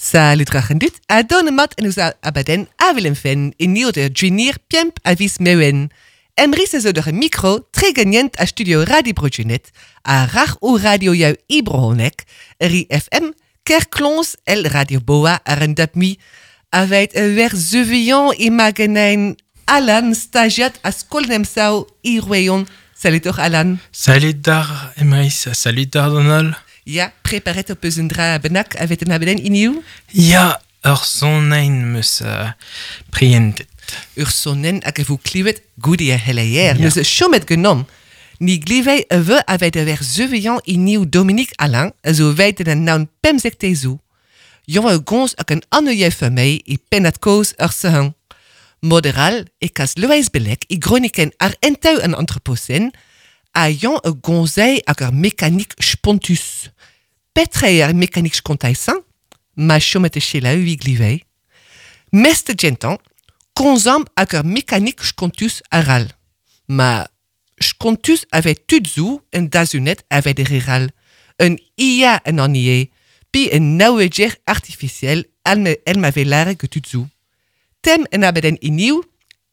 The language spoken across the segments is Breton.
Salut rac'hen dut, a don mat en ouz abaden avel fen e nio de junior piemp a vis meuen. Emrys a zo d'ur mikro tregenient a studio Radio Brojunet, a rach o radio jou Ibrohonek, ri FM, Kerklons el Radio Boa ar en dap mi, aveit e wer zeuvion imagenein Alan stagiat a skolnemsau irueon. Salut toch Alan. Salut dar Emrys, salut dar Donald. Ja, preparet op eus un dra benak avet en abeden iniu? Ja, ur sonein meus prientet. Ur sonen hag e vo klivet goude a heleier. Ja. Neus chomet genom. Ni glivei e ve avet a wer zeuvion iniu Dominique Alain, a zo weit en naun pemzek tezou. Jon a gons hag an anneie famei e pennat koz ur sehan. Moderal e kas Loeiz Belek e groniken ar enteu an anthroposen, a jon a gonzei hag ar mekanik spontus. Petre ar mekanik skontaisan, ma chomet e chela ui glivei. Meste gentan, konzam hag ar mekanik skontus aral. Ma skontus avait tudzu en dazunet avait de riral. Un IA en annie, pi un naueger artificiel el ma velare ge tudzu. Tem en abeden iniu,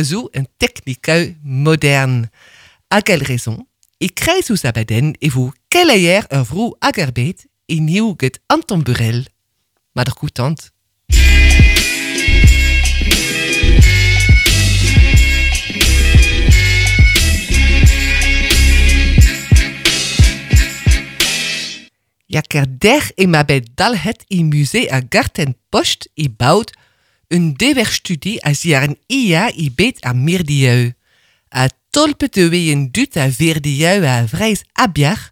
zo un technikeu modern. A quelle raison? E kreiz ouz abaden e vo keleier ur vro hag ar bet iniu get Anton Burel. Ma d'ar koutant. Ja ker der e ma bet dalhet i musée a garten post i baut un dewerstudie a ziar an IA i bet a mirdieu. A tolpet e een dut a verdieu a vreiz abiar,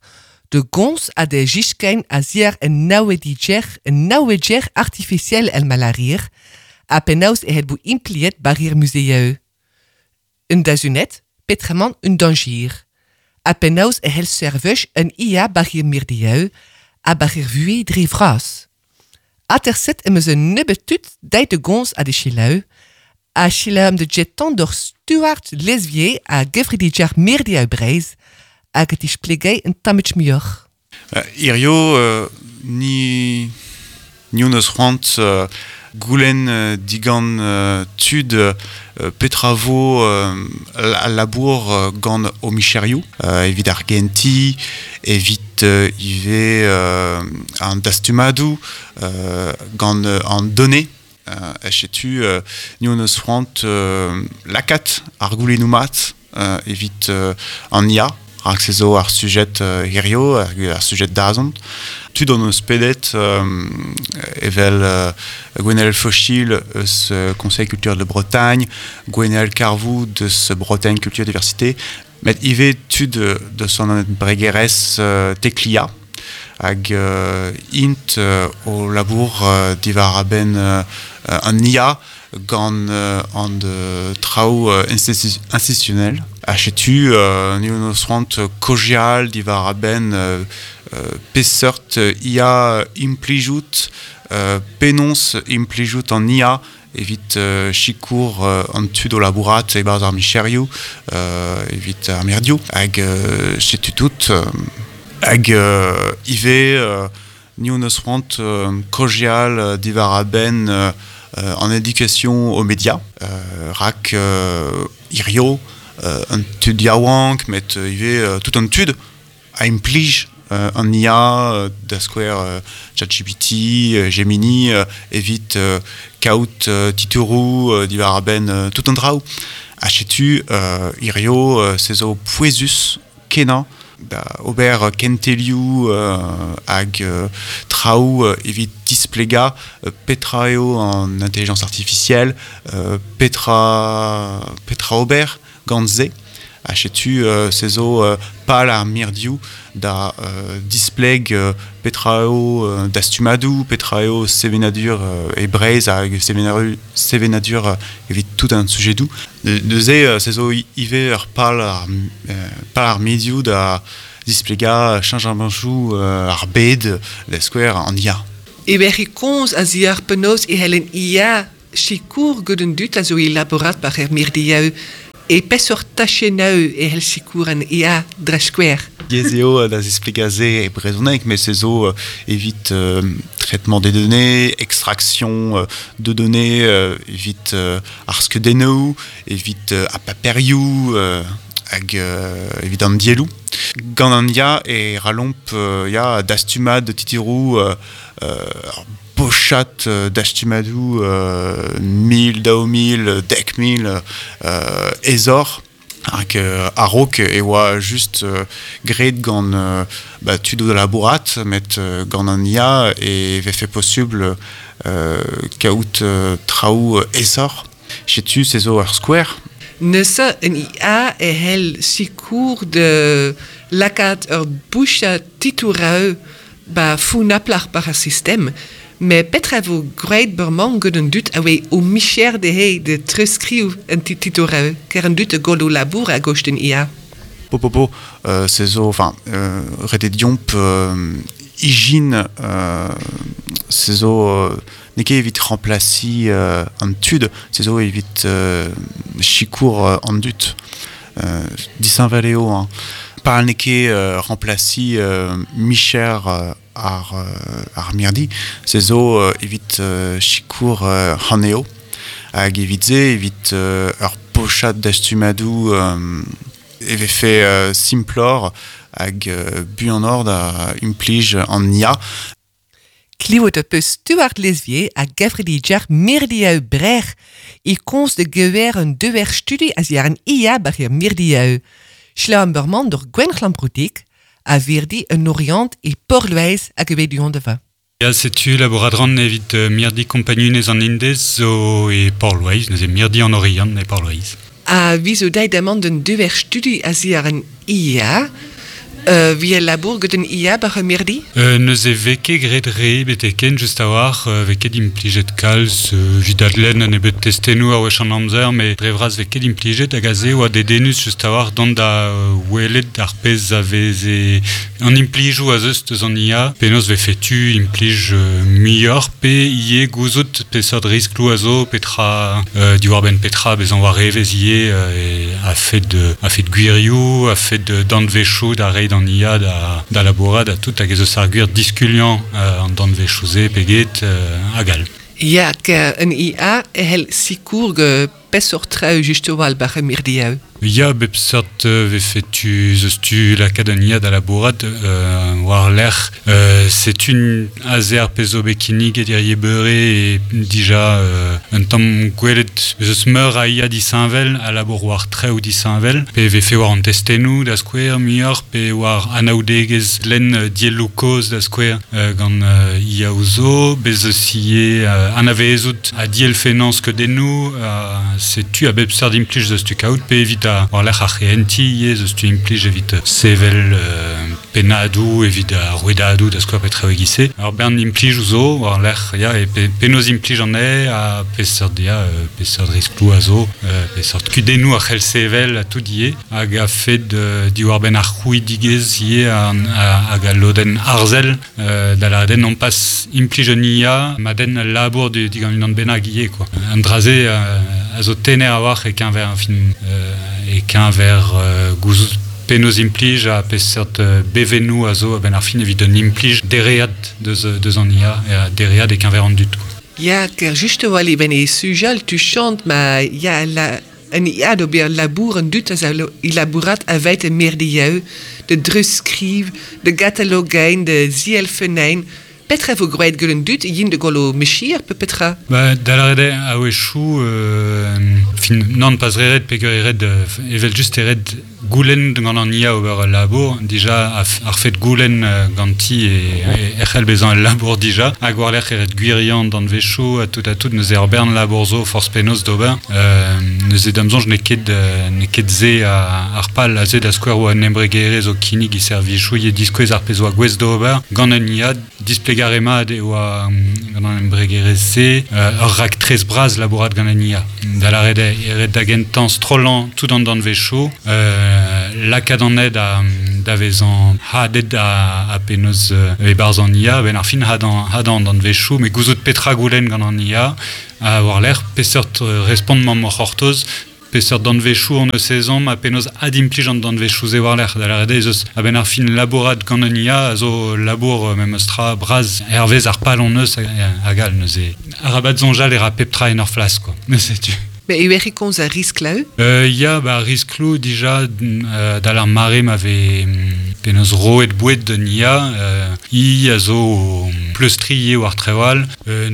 de gons a de giskein a ziar een nauwediger, een nauwediger artificiel el malarir, a penaus e het boe impliet barrier museu. Un dazunet, petraman un danger. A penaus e hel serveuch een IA barrier mirdieu, a barrier vue dre vras. Aterset em eus un nebeut deit de gons a de chilau, a chilau de jeton d'or Stuart Lesvier a gefridiger mirdieu breiz, hag et isplegei un tammech muioc'h. Irio, ni, ni on eus c'hoant goulenn digan tud petra vo al labour gant o micherioù, evit ar genti, evit ivez an dastumadou, gant an donné. Echetu ni on eus c'hoant lakat ar goulennoù mat evit an IA, rak se zo ar sujet hirio, ar sujet dazont. Tud on eus pedet evel Gwenaël Fauchil eus Conseil Culture de Bretagne, Gwenaël Carvou deus Bretagne Culture Diversité, met ivez tud deus an bregerez Teklia, hag int o labour divar a-benn an IA gant an traoù institutionnel. Ha setu ni on eus c'hoant kojial divar a-benn peseurt IA implijout, penons implijout an IA evit sikour an tud o labourat e-barzh ar micherioù, evit ar merdioù. Hag setu tout hag ivez ni on eus c'hoant kojial divar a-benn an éducation aux médias, rak irio, un tud yaouank, met ivez tout an tud a implij an IA, da skouer ChatGPT, Gemini, evit kaout titouroù divar a-benn tout an draoù. Ha setu irio se zo pouezus kenañ da ober kentelioù hag traoù evit displega petra eo an intelligence artificielle, petra ober gant se. Ha setu se zo pal ar mirdioù da displeg petra eo dastumadou, petra eo sevenadur e Breizh hag sevenadur evit tout an sujedou. Neuze se zo ivez ur pal ar medioù da displega chanjamanchou ar bed da skouer an IA. E wer e komz a ziar penaos e hellen IA sikour gant an dud a zo elaborat par er mirdieu. E peseurt tachennoù e c'hell sikour an IA dre skouer? Diaes eo da zisplegañ se e brezhoneg, met se zo evit traitement des données, extraction de données evit ar skeudennoù, evit ar paperioù hag evit an dielloù. Gant an IA e ralomp ya dastumad titiroù ur bochad dastumadoù 1000, 2000, 10,000 aesoc'h hag a-raok e oa just graet gant ba, tud o labourat met gant an IA e vefe posubl kaout traoù aesoc'h. Setu se zo ur skouer. Neuze an IA e c'hell sikour da lakaat ur bouchad titouroù ba founaploc'h war ar sistem. Met petra vo graet bremañ gant an dud a oa o micher dezhe da treuzskriv an titouroù, ker an dud a gollo labour a-gost an IA? Po po po, se zo, enfin, ret eo deomp ijin, se zo n'eo ket evit remplasiñ an tud, se zo evit sikour an dud. Disheñvel eo, hein. Pal n'eo ket remplasiñ micher ar mirdi, se zo evit sikour anezho. Hag evit se, evit ur pochad dastumadoù e vefe simploc'h hag buanoc'h da implij an IA. Klevet ho peus Stuart Lesvier ha gevredigezh Mirdioù Brec'h e komz da gever un dever studi a-ziàr an IA bar er mirdioù. Selaou bremañ doc'h Gwenc'hlan Broudig a virdi un Oriant e Porloez hag e bet du-hont da va. Ya, setu labourat ran evit mirdi kompagnunezh an Indez zo e Porloez, neuze mirdi an Oriant e Porloez. Ha vi zo deit amañ d'un dever studi a-ziàr an IA. Vi a labour gant an IA bar ar mirdi? Neuze vez ket graet re betek-henn just a-walc'h, vez ket implijet kalz evit adlenn un nebeud testennoù a wech an amzer, met dre vras vez ket implijet hag aze e oa dedennus just a-walc'h dont da welet ar pezh a veze an implijoù a zeus deus an IA, penaos vefe tu implij muioc'h pe ivez gouzout peseurt riskloù a zo, petra diwar-benn petra bezañ war evezh ivez a-fed gwirioù, a-fed danvezioù da reiñ d'an IA da labourat ha tout hag ez eus ar gwir diskuliañ an danvezioù-se pe get hag all. Ya, an IA e c'hell sikour peseurt traoù just a-walc'h bar ar mirdioù. Ya, bep seurt vefe tu zeus tu lakaat an IA da labourat war-lerc'h. Setu aze ar pezh zo bet kinniget hirie beure e dija un tamm gwelet ez eus meur a IA disheñvel a labour war traoù disheñvel, pe vefe war an testennoù da skouer muioc'h, pe war anaoudegezh lenn dielloù kozh da skouer gant IAoù zo, bez eus ivez anavezout ha dielfennañ skeudennoù, setu a bep seurt implij eus tu kaout, pe evit war-lerc'h ar c'hehentiñ ivez eus tu implij evit sevel pennadoù, evit ar rouedadoù da skouer petra e-giz-se. Ur bern implijoù zo war-lerc'h ya, e penaos implij anezhe ha peseurt ya, peseurt riskloù a zo, peseurt kudennoù a c'hell sevel ha tout ivez, hag a-fed diwar-benn ar c'hrouidigezh ivez hag al lodenn arzel da lâret non pas implij un IA ma denn al labour digant unan bennak ivez quoi. An dra-se a zo tener a-walc'h e-keñver fin e-keñver gouzout penaos implij ha peseurt bevennoù a zo a-benn ar fin evit un implij dereat deus an IA ha dereat e-keñver an dud. Ya, ker just a-walc'h ben e sujal tu chant ma ya la an IA d'ober labour an dud a zo labourat aveit e mirdioù, de dreuzskriv, de gatalogein, de zielfennein. Petra vo graet gant an dud yin de gollo mechir pe petra? Ba, da lâret eo a-wechoù fin nann pas re ret peogwir eo ret evel just eo ret goulenn gant an IA ober ul labour dija ar fed goulenn ganti e c'hell bezañ ul labour dija hag war-lerc'h eo ret gwiriañ danvezioù ha tout ha tout neuze ur bern labour zo forzh penaos d'ober neuze da'm soñj n'eo ket se ar pal aze da skouer oa un embregerezh o kinnig e servijoù ivez diskouez ar pezh oa gouest d'ober gant un IA displegañ re mat e oa gant an embregerezh-se ur raktres bras labourat gant an IA. Da lâret eo e ret da gentañ strollañ tout an danvezioù, lakaat an ed da vezañ hadet ha penaos e-barzh an IA, a-benn ar fin hadañ an danvezioù, met gouzout petra goulenn gant an IA, ha war-lerc'h peseurt respont 'mañ o c'hortoz. peseurt danvezioù hon eus ezhomm ha penaos adimplij an danvezioù-se war-lerc'h. Da lâret eo ez eus a-benn ar fin labourat gant un IA a zo labour memes tra bras hervez ar pal hon eus hag all neuze. Arabat soñjal e ra pep tra en ur flas quoi. Neuze tu. Mais e ec'h komz a risklaou? Ya, ba riskloù dija dal ar mare ma vez penaos roet boued d'un IA, i a zo pleustriñ eo ar traoù all.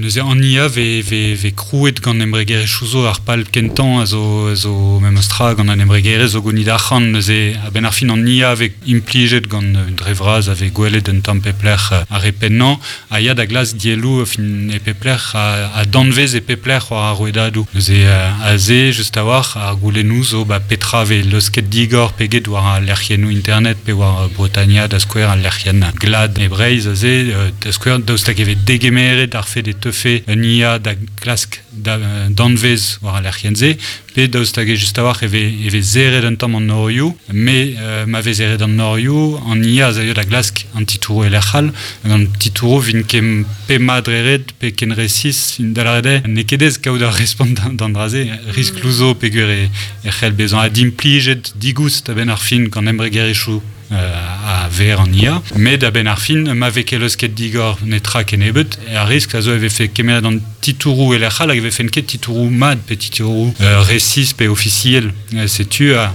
Neuze an IA vez, vez, vez krouet gant embregerezhioù zo ar pal kentañ a zo, a zo memes tra gant an embregerezh zo gounit arc'hant. Neuze a-benn ar fin an IA vez implijet gant dre vras a vez gwelet un tamm pep lec'h ar re pennañ a ya da glask dielloù fin e pep lec'h ha danvez e pep lec'h war ar rouedadoù. Neuze aze just a-walc'h ar goulennoù zo ba petra vez leusket digor pe get war al lec'hiennoù internet pe war Bretania da skouer al lec'hienn glad e Breizh aze da skouer daoust hag e vez degemeret ar fed e teufe un IA da klask danvez war al lec'hienn-se pe daoust hag just a-walc'h e vez serret un tamm an norioù mais ma vez serret an norioù an IA a zaio da glask an titouroù e lec'h all hag an titouroù vint ket pe mat dre ret pe ken resis da lâret eo n'eo ket aes kaout ur respont d'an dra-se riskloù zo peogwir e c'hell bezañ adimplijet digoust a-benn ar fin gant embregerezhioù a ver an IA. Met a-benn ar fin, ma vez ket leusket digor netra kennebeut, ar riskl a zo e vefe kemeret an titouroù e lec'h all hag e vefent ket titouroù mat pe titouroù resis pe ofisiel. Setu ar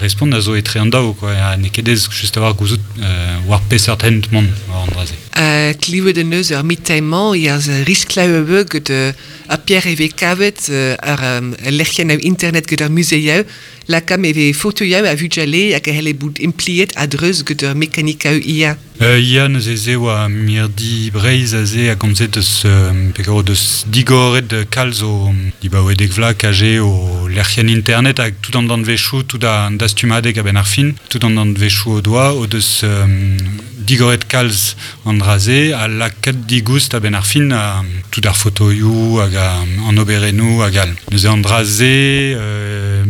respont a zo etre an daou, quoi. Ha n'eo ket aes just a-walc'h gouzout war peseurt hent mont war an dra-se. Klevet en deus ur mitin-mañ e az risklaoù get ar Pierre e vez kavet ar lec'hienn internet get ar muzeioù Lakaomp e vez fotoioù a vugale hag a c'helle bout impliet a-dreuz get ur mekanikaoù IA. Ya, neuze se oa mirdi Breizh aze a gomze deus peogwir deus digoret kalz o dibaoe dek vloaz kaje o lec'hienn internet hag tout an danvezioù, tout an dastumadeg a-benn ar fin, tout an danvezioù o doa o deus digoret kalz an dra-se ha lakaet digoust a-benn ar fin tout ar fotoioù hag an oberennoù hag all. Neuze an dra-se,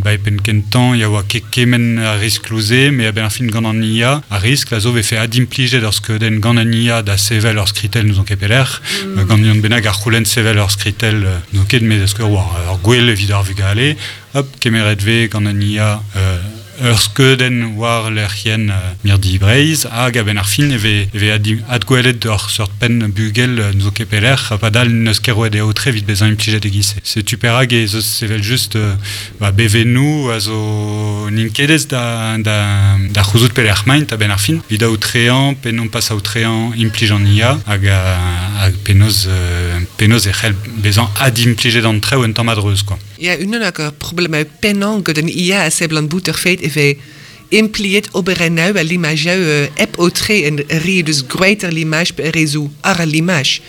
ba e penn kentañ, ya oa ket kement a riskloù-se, met a-benn ar fin gant an IA, ar riskl a zo vefe adimplijet ur skeudenn gant an IA da sevel ur skritell n'ouzon ket pelec'h, gant unan bennak a c'houlenn sevel ur skritell n'ouzon ket met da skouer war ur gwel evit ar vugale, hop, kemeret vez gant an IA ur skeudenn war lec'hienn Mirdi Breizh hag a-benn ar fin e vez e vez adgwelet ur seurt penn bugel n'zo ket pelec'h ha padal n'eus ket roet e aotre evit bezañ implijet e-giz-se. Setu perak ez eus evel-just ba, bevennoù a zo n'int ket aes da, da, da c'houzout pelec'h maint a-benn ar fin evit aotreañ pe non pas aotreañ implij an IA hag, hag penaos, penaos e c'hell bezañ adimplijet an traoù un tamm a-dreuz quoi. Ya, unan ag ar problemoù pennañ gant an IA a seblant bout ur fed e vez impliet oberennoù ha limajoù hep aotre en re deus gwraet ar limaj pe re zo àr al limaj.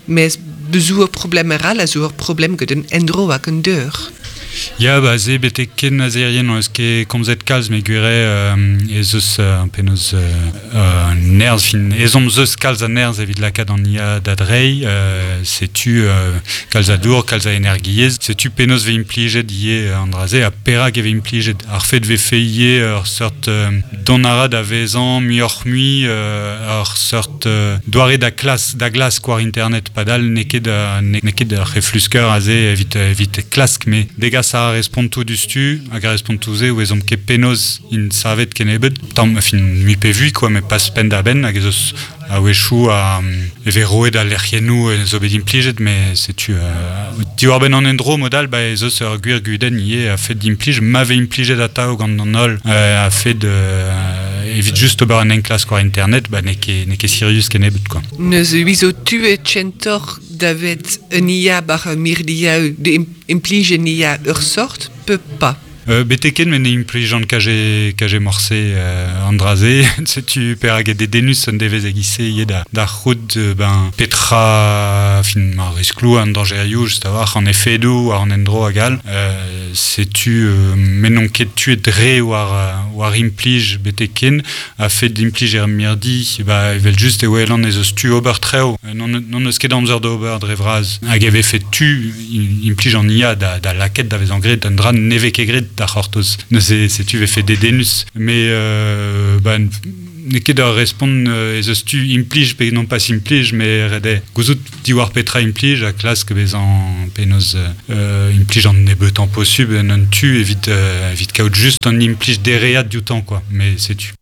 Mes bezoù ur problem arall a zo ur problem gant an endro hag an deur. Ya, ba se betek ken azerien n'on eus ket komzet kalz, met gwir eo ez eus penaos nerzh, fin ezhomm 'z eus kalz a nerzh evit lakaat an IA da dreiñ. Setu kalz a dour, kalz a energiezh. Setu penaos vez implijet ivez an dra-se ha perak e vez implijet. Ar fed vefe ivez ur seurt dont a ra da vezañ muioc'h-mui ur seurt doare da klas da glask war internet padal n'eo ket n'eo ket ur c'heflusker aze evit evit klask met degas a ra respontoù diouzhtu hag ar respontoù-se ouezomp ket penaos int savet kennebeut tamm fin mui pe vui quoi met pas penn-da-benn hag ez eus a-wechoù e vez roet al lec'hiennoù zo bet implijet met setu diwar-benn an endro mod all ba ez eus ur gwir gudenn ivez a-fet d'implij ma vez implijet atav gant an holl a-fet evit just ober un enklask war internet ba n'eo ket n'eo ket sirius kennebeut quoi. Neuze zo tuet kentoc'h davet un IA bar mirdiaou de implij un IA ur sort pe pas. Betek ken met ne implijan kaje, kaje morse an dra-se. Setu perak eo dedennus un devezh e-giz-se ivez da, da c'hoût ben, petra fin ar riskloù, an dañjerioù, just a-walc'h, an efedoù war an endro hag all. Setu me n'on ket tuet re war, war implij betek ken. A-fet implij er mirdi, ba, evel-just e welan ez eus tu ober traoù. N'hon eus ket amzer d'ober dre vras. Hag e vefe tu implij an IA da, da lakaat da vezañ graet un dra ne vez ket graet da c'hortoz. Neuze setu vefe dedennus. Mais bah, N'eo ket ur respont ez eus tu implij pe non pas implij, met ret eo gouzout diwar petra implij ha klask bezañ penaos implij an nebeutañ posubl en un tu evit evit kaout just an implij dereat dioutañ quoi, met setu.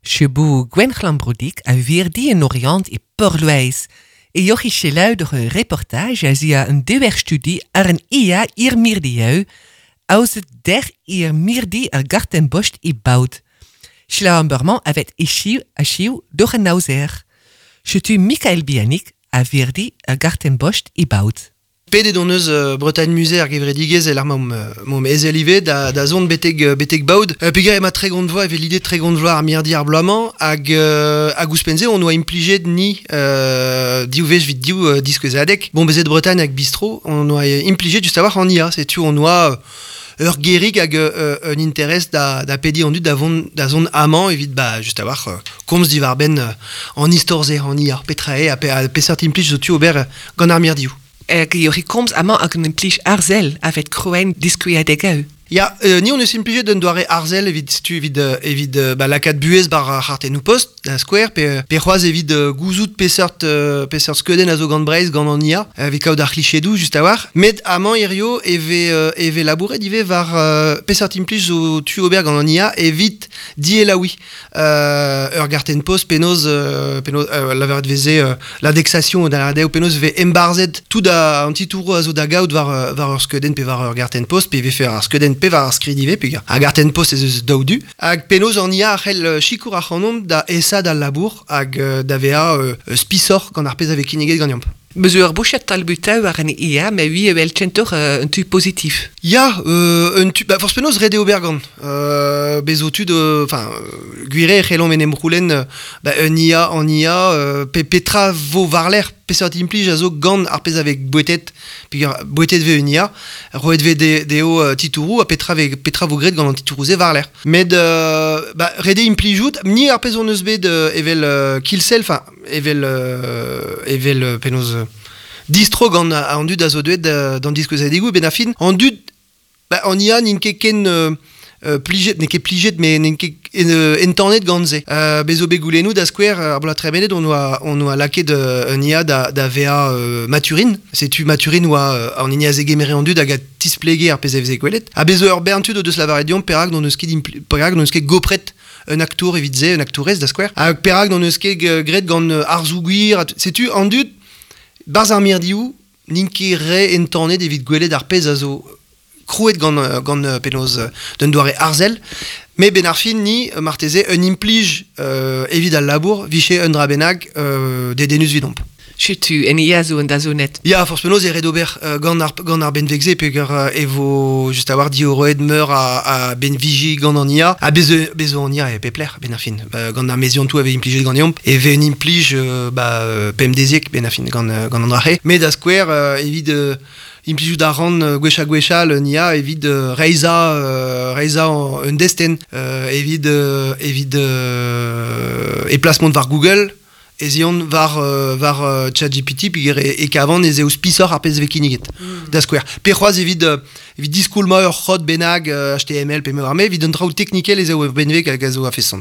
Chebou Gwenc'hlan Broudic a virdi en Oriant e Porloez. E jochi selaou door een reportage a zia een dewerstudie ar een IA ir mirdieu, aus het der ir mirdi ar gartenbost i bout. Selaou an beurmañ avet echiv achiv door een nauzer. Chetu Michael Bianik a virdi ar gartenbost i bout. Pedet hon eus Bretagne Musée ar gevredigezh el ar maomp ezel ivez da, da zont betek, betek Baod. Peogwir emañ 30 vloaz evel l'idée 30 vloaz ar mirdi ar bloaz-mañ hag, hag ouzhpenn-se hon oa implijet ni div wech evit div diskouezadeg. Bon bezet Bretagne hag Bistro hon oa implijet just a-walc'h an IA. Setu hon oa ur gerig hag un interest da, da pediñ an dud da vont da zont amañ evit ba just a-walc'h komz diwar-benn an istor-se, an IA, petra eo ha, pe, ha peseurt implij zo tu ober gant ar mirdioù. Hag eo komz amañ hag un implij arzel a-fet krouein diskuiadegoù. Ya, ni hon eus implijet un doare arzel evit setu evit evit ba, lakaat buhez war ar c'hartennoù-post, da skouer, pe, pe c'hoazh evit gouzout peseurt, peseurt skeudenn a zo gant Breizh gant an IA, evit kaout ar c'hlichedoù just a-walc'h. Met amañ hirio e vez, e vez labouret ivez war peseurt implij zo tu ober gant an IA evit dielaouiñ ur gartenn-post penaos, penaos lavaret veze l'indexation da lâret eo penaos e vez embarzhet tout an titouroù a zo da gaout war, war ur skeudenn pe war ur gartenn-post pe e vefe ar skeudenn pe war ar skrid ivez peogwir ar gartenn-post ez eus daou du hag penaos an IA a c'hell sikour ac'hanomp da aesaat al labour hag da vezañ spisoc'h gant ar pezh a vez kinniget ganeomp. Meus ur bouchad talbutaù war an IA, met ui evel kentoc'h un tu pozitif. Ya, un tu, ba, forzh penaos ret eo ober gant. Bez zo tud, enfin, gwir eo e c'hellomp en em c'houlenn ba, un IA en IA, pe petra vo war-lerc'h, peseurt implij a zo gant ar pezh a vez bouetet, peogwir bouetet vez un IA, roet vez dezho titouroù ha petra, vez, petra vo graet gant an titouroù-se war-lerc'h. Met ba, ret eo implijout, ni ar pezh hon eus bet evel Kilsell, enfin, evel evel penaos distro gant an dud a zo deuet d'an diskouezadegoù benn ar fin an dud ba, an IA n'int ket ken plijet n'eo ket plijet met n'int ket entanet gant se. Bez zo bet goulennoù da skouer ar bloaz tremenet on oa on oa lakaet un IA da, da vezañ Mathurin. Setu Mathurin oa an hini a zegemere an dud hag a tisplege ar pezh a veze gwelet. Ha bez zo ur bern tud o deus lavaret deomp perak n'hon eus ket perak n'hon eus ket gopret un aktour evit se, un aktourez da skouer. Ha perak n'hon eus ket graet gant arzoù gwir. Setu an dud, barzh ar mirdioù, n'int ket re entanet evit gwelet ar pezh a zo krouet gant, gant penaos d'un doare arzel. Met benn ar fin, ni, marteze, un implij evit al labour, vije un dra bennak dedennus evidomp. Setu, en ia zo un dazonet. Ya, forzh penaos e ret ober gant ar, gant ar benveg-se, peogwir e vo just a-walc'h diorroet meur a, a benviji gant an IA. Ha bez, bez zo an IA e pep lec'h, benn ar fin. Gant ar meziantoù a vez implijet ganeomp, e vez un implij ba, pemdeziek, benn ar fin, gant, gant an dra-se. Met da skouer, evit implijout a ran gwech ha gwechall un IA evit reizhañ, reizhañ un destenn, evit, evit e plas mont war Google, ez eont war, war ChatGPT peogwir e kavan ez eo spisoc'h ar pezh vez kinniget, da skouer. Pe c'hoazh evit, evit diskoulmañ ur c'hod bennak HTML pe me oar me, evit an traoù teknikel ez eo ur benveg hag a zo a-feson.